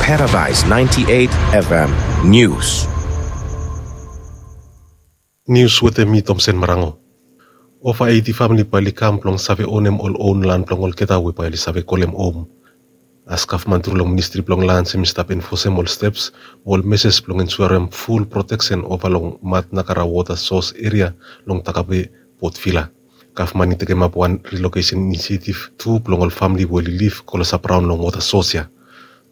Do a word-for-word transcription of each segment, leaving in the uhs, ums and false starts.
Paradise ninety-eight F M News. Nius wetem mi, Tomsen Marango. Ova eiti famili bae oli kam blong save onem ol own lan blong olgeta we bae oli save kolem hom. As gavman tru long Ministri blong Lans hemi stap enfosem ol steps mo ol meses blong ensuarem ful proteksen ova long Matnakara wota sos eria long Takabe, Port Vila. Gavman i tekemap wan relocation inisiatif tu blong ol famili we oli liv klosap raon long wota sos ya.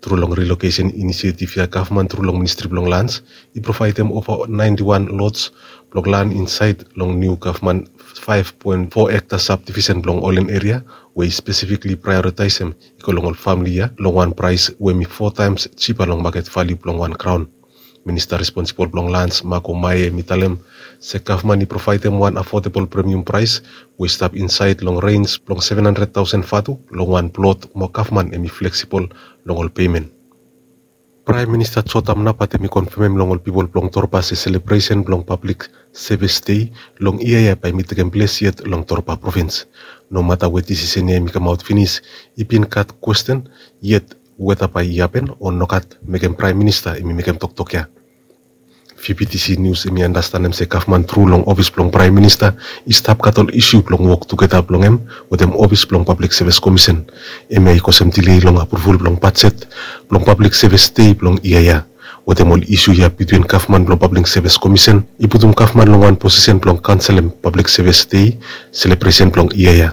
Tru long relocation inisiatif ya, gavman tru long Ministri blong Lans i provaedem ova naenti wan lots blong lan insaed long niu gavman faef poen fo ekta sabdivisen blong Olen eria we i spesifikli praeoritaesem i go long ol famili ya long wan praes we hemi fo taems jipa long maket valiu blong wan graon. Minista responsibol blong Lans, Marco Mae, hemi talem se gavman i provaedem wan afodabol premium praes we i stap insaed long rens blong seven hundred thousand vatu long wan plot mo gavman hemi fleksibol long ol pemen. Praem Minista Jotam Napat hemi konfamem long ol pipol blong Torba se selebresen blong Pablik Sevis Dei long yia ya bae hemi tekem ples yet long Torba provins. Nomata we disisen ya hemi kamaot finis, i bin gat kwesten yet weta bae i hapen o nogat, mekem Praem Minista hemi mekem toktok ya. V B T C Nius hemi andastanem se gavman tru long ofis blong Praem Minista i stap gat ol isu blong wok tugeta blong hem wetem ofis blong Pablik Sevis Komisen. Hemia i kosem dilei long apruval blong bajet blong Pablik Sevis Dei blong yia ya. Wetem ol isu ya bitwin gavman blong Pablik Sevis Komisen i putum gavman long wan posisen blong kanselem Pablik Sevis Dei selebresen blong yia ya.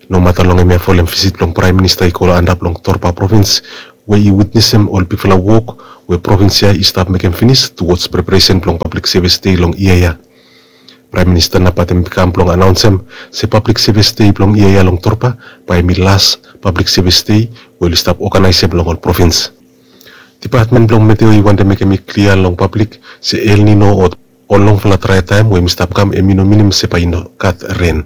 Nomata long hemia folem visit blong Praem Minista i go antap long Torba provins we i witnesem ol bigfala wok we provins ya i stap mekem finis tuwods preparesen blong Pablik Sevis Dei long yia ya. Praem Minista Napat hemi kam blong anaonsem se Pablik Sevis Dei blong yia ya long Torba bae hemi las Pablik Sevis Dei we oli stap oganaesem long ol provins. Dipatmen blong Meteo i wantem mekem i klia long pablik se El Nino o ol longfala drae taem we hemi stap kam hemi no minim se bae i no gat ren.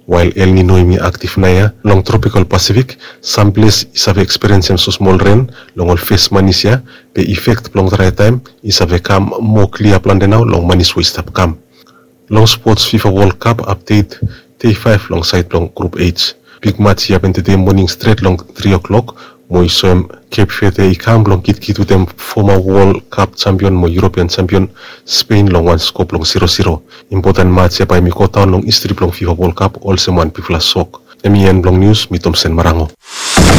Wael El Nino hemi aktif naoia long tropikal Pasifik, sam ples i save ekspiriensem smosmol ren long ol fes manis ya, be ifek blong drae taem i save kam moa klia plante nao long manis we i stap kam. Long spots, FIFA World Cup apdet, dei faef long saed blong Grup H. Big match i hapen tede moning stret long tri o'clock mo i soem Cape Verde i kam blong kitkit wetem foma World Cup jampion mo European jampion Spain long wan sko blong zero zero. Impoten match ya bae hemi godaon long histri blong FIFA World Cup olsem wan bigfala sok. Hemi en blong nius, mi Tomsen Marango.